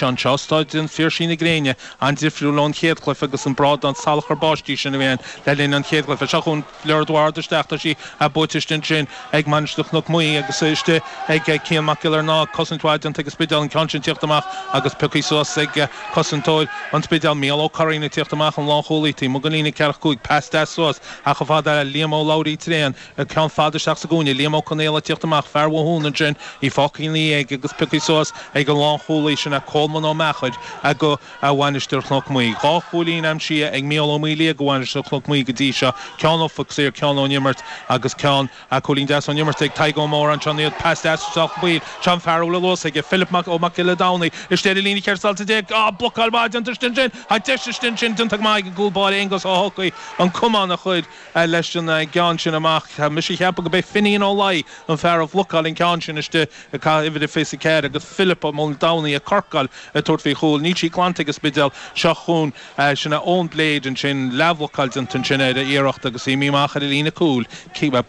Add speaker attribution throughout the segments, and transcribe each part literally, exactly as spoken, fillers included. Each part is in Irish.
Speaker 1: Anseo Staid an Phiarsaigh na gréine an-difriúil ón chéad chluiche agus an brádán salachar báistí sin a bhí ann le linn an chéad chluiche. Seo chugainn Fleur Eduard isteach, tá sí buaite istigh ansin ag Mainistir Chnoc Muaidhe agus istigh ag Cian Mac Giollarnáth. Cosaint mhaith déanta ag an Spidéal, an ceann sin tíocht amach agus pioctha suas ag cosantóir an Spidéil, Mícheál Ó Curraoin ag tíocht amach, an lánchúlaí taobh amuigh den líne ceathracha cúig. Pas deas suas ach chomh fada le Liam Ó Labhraí tréan, ceann fada isteach sa gcúinne, Liam Ó Conaola ag tíocht amach, fear Mhathúna ansin, í fágtha ina dhiaidh agus pioctha suas ag an lánchúlaí sin, Colman Ó Meachair do Mhainistir Chnoc Muaidhe. Dhá chúilín aimsithe ag Mícheál Ó Maoildhia do Mhainistir Chnoc Muaidhe go dtí seo, ceann ó phoc saor, ceann ón imirt agus ceann, cúilín deas ón imirt ag Tadhg Ó Móráin. Seo iad, pas deas isteach chun baill, seo an fear a bhfuil an luas aige, Philip Mac Ó Mac Giolla Domhnaigh, istigh ar an líne cheithre sailte déag, á, blocáil mhaith déanta istigh ansin, tá deis istigh ansin déanta go maith ag an gcúl báire Aonghus Ó hEochaidh an camán a chur leis an gceann sin amach. Tá mise ag ceapadh go b'é Finian Ó Laoi an fear a bhlocáil an ceann sin istigh ag caitheamh uimhir a fiche a ceathair agus Philip Ó Domhnaigh ag corcáil ag tabhairt faoi chúl. Níl sí glanta ag an Spidéal. Seo chugainn sin é Eoin Blade ansin, leathbhlocáil déanta ansin ar a iarracht agus í imithe amach ar an líne cúil.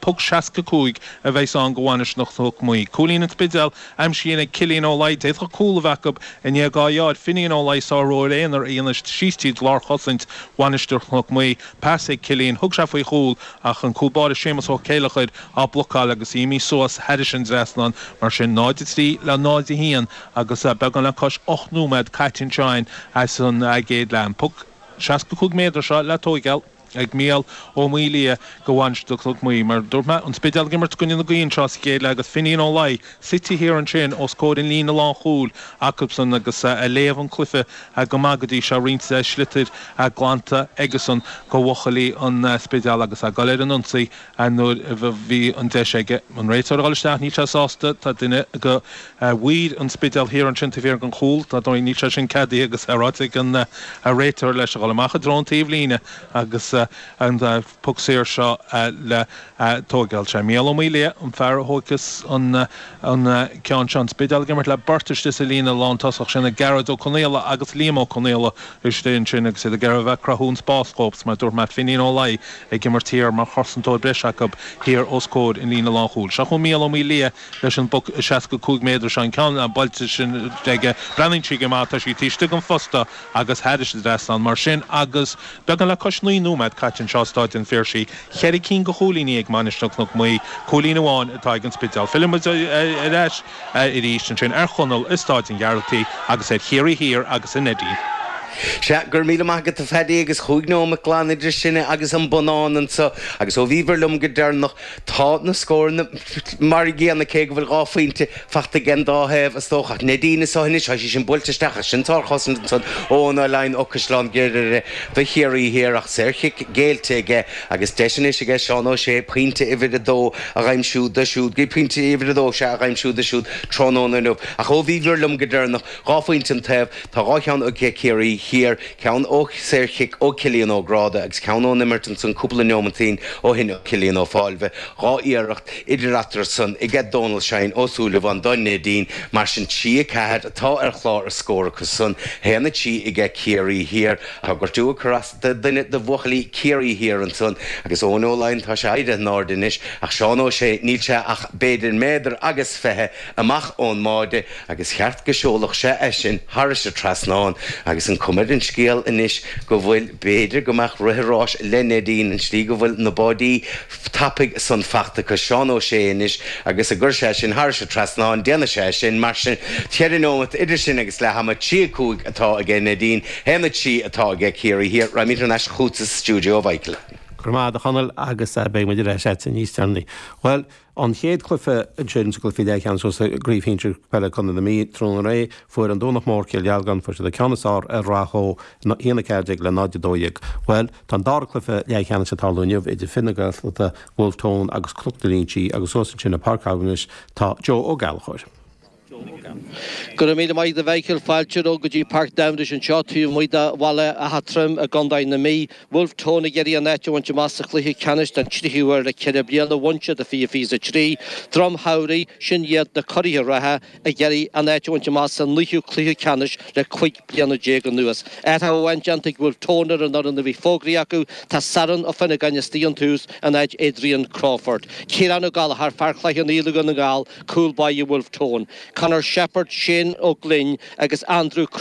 Speaker 1: Poc seasca cúig a bheas ann do Mhainistir Chnoc Muaidhe. Cúilín an Spidéil aimsithe ag Cillian Ó Laoi. D'fhéadfadh cúl a bheith acu i ndiaidh dhá dheáir. Finian Ó Laoi sárobair aonair a dhéanamh síos tríd lárchosaint Mhainistir Chnoc Muaidhe. Pas ag Cillian. Thug sé faoi chúl ach an cúl báire Séamus Ó Céileachair á blocáil agus í imithe suas thairis an dtrasnán. Mar sin náid a trí le náid a haon agus beagán le cois ocht nóiméad caite anseo as an gcéad leath. An poc seasca cúig méadar seo le tóigeáil ag Mícheál Ó Maoildhia do Mhainistir Chnoc Muaidhe. Mar a dúirt mé, an Spidéal ag imirt i gcoinne na gaoithe anseo sa chéad leath agus Finian Ó Laoi suite thiar ansin os comhair an líne lánchúil acusan agus ag léamh an cluiche go maith go dtí seo, roinnt sliotair glanta aigesan do bhuachaillí an Spidéil agus ag dul ar an ionsaí nuair a bhí an deis aige an réiteoir a dhul isteach. Níl sé sásta. Tá duine de mhaoir an Spidéil thiar ansin taobh thiar den chúl. Dar ndóigh níl sé sin ceadaithe agus é ráite ag an réiteoir leis a dhul amach i dtreo an taobhlíne agus an poc saor seo le tóigeáil. Sé Mícheál Ó Maoildhia an fear a thóigfeas an ceann seo. An Spidéal ag imirt le beirt istigh sa líne lántosach, sin Gearóid Ó Conaola agus Liam Ó Conaola istigh ansin agus iad ag iarraidh a bheith ag cruthú an spás dhóibh. Mar a dúirt mé, Finian Ó Laoi ag imirt thiar mar chosantóir breise acu thiar os comhair an líne lánchúil. Seo chugainn Mícheál Ó Maoildhia leis an bpoc seasca cúig méadar seo, an ceann buailte sin aige. Breathnaíonn sí go maith, tá sí taobh istigh den phosta agus thairis an dtrasnán mar sin agus beagán le cois naoi nóiméad caite anseo i Stáid an Phiarsaigh. Ceithre cinn de chúilíní ag Mainistir Chnoc Muaidhe, cúilín amháin atá ag an Spidéal. Fillfidh muid ar ais arís ansin ar Chonall i Stáid an Ghearaltaigh agus ar Chiarraí Thiar agus ar Neidín.
Speaker 2: Sea, go raibh míle maith agat a Phaddy agus chúig nóimeat glan idir sinne agus an bonnán anso agus ó bhíobhair liom go deireanach tá na scóranna mar an gcéanna cé go bhfuil dhá phointe fachta ag an dá thaobh is dócha. Ach Neidín anso anois, tá sí sin buailte isteach ach sin sárchosaint ansan ó Eoin Ó Laighin ó Caisleán Ghriaire do Chiarraí Thiar ach saorchic géillte aige agus deis anois aige Seán Ó Sé pointe uimhir a dó a dh'aimsiú dó siúd, pointe uimhir a dó, sea, a dh'aimsiú dó siúd tráthnóna inniu. Ach ó bhíobhair liom go deireanach, dhá phointe an taobh, tá dhá cheann aige Ciarraí Thiar, ceann ó saorchic ó Cillian Ó Gráda agus ceann ón imirt ansan cúpla neomatín ó shin ó Cillian Ó Fáilbhe. Dhá iarracht idir eatarthu san aige Dónal Shine Ó Súilleabháin do Neidín. Mar sin trí a ceathair atá ar chlár a scór acu san, haon a trí aige Ciarraí Thiar. Tá gortú ag cur as do dhuine de bhuachaillí Ciarraí Thiar ansan agus Eoin Ó Laighin tá sé éirithe in airde anois ach Seán Ó Sé níl sé ach b'fhéidir méadar agus fiche amach ón mbáide agus cheart go seolfadh sé é sin thairis an trasnán agus an cuma ar an scéal anois go bhfuil, b'fhéidir go mbeadh rith an ráis le Neidín, an tslí go bhfuil na báidí tapaidh san fachta acu Seán Ó Sé anois agus an gcuirfidh sé sin thairis an trasnán, déanfaidh sé sin, mar sin ceithre neomat idir sin agus leath ama, trí a cúig atá aige Neidín, haon a trí atá aige Ciarraí Thiar. Raghaimid thar n-ais chugatsa sa stiúideo, a Mhichael.
Speaker 3: Go raibh maith agat, a Chonaill, agus beidh muid ar ais agatsa níos deireanaí. Bhuel, an chéad chluiche ansin sa gcluiche leathcheannais sa gcraobh shinsir peile Chontae na Mí tráthnóna aréir, fuair an Domhnach Mór Cill Dhealgan, fuair siad an ceann is fearr ar Rath Tó, a haon a ceathair déag le náid a dó dhéag. Bhuel, tá an dara cluiche leathcheannais ag tarlú inniu idir fir na Gaeltachta, Wolfe Tone agus Cnoc na Léinsí agus thuas ansin i Páirc Cavendish tá Joe Ó Gallchóir.
Speaker 4: Go raibh míle maith agat a Mhichíl. Fáilte romhat go dtí Páirc Cavendish anseo taobh amuigh de Bhaile Átha Troim i gContae na Mí. Wolfe Tone ag iarraidh an áit a bhaint amach sa chluiche ceannais den tríú huair le ceithre bliana. Bhain siad i fiche fiche a trí. Droim Shamhraidh, sin iad na curaithe reatha, ag iarraidh an áit a bhaint amach sa naoú cluiche ceannais le cúig bliana déag anuas. Athrú amháin déanta ag Wolfe Tone ar an fhoireann a bhí fógraithe acu, tá Saran Ó Finneagáin istigh ón tús in áit Adrian Crawford. Ciarán Ó Gallchóir, fear Chloich Cheann Fhaola Dhún na nGall, cúl báire Wolfe Tone. Conor Conor Shepard, Shane Ó Glinn agus Andrew Cross.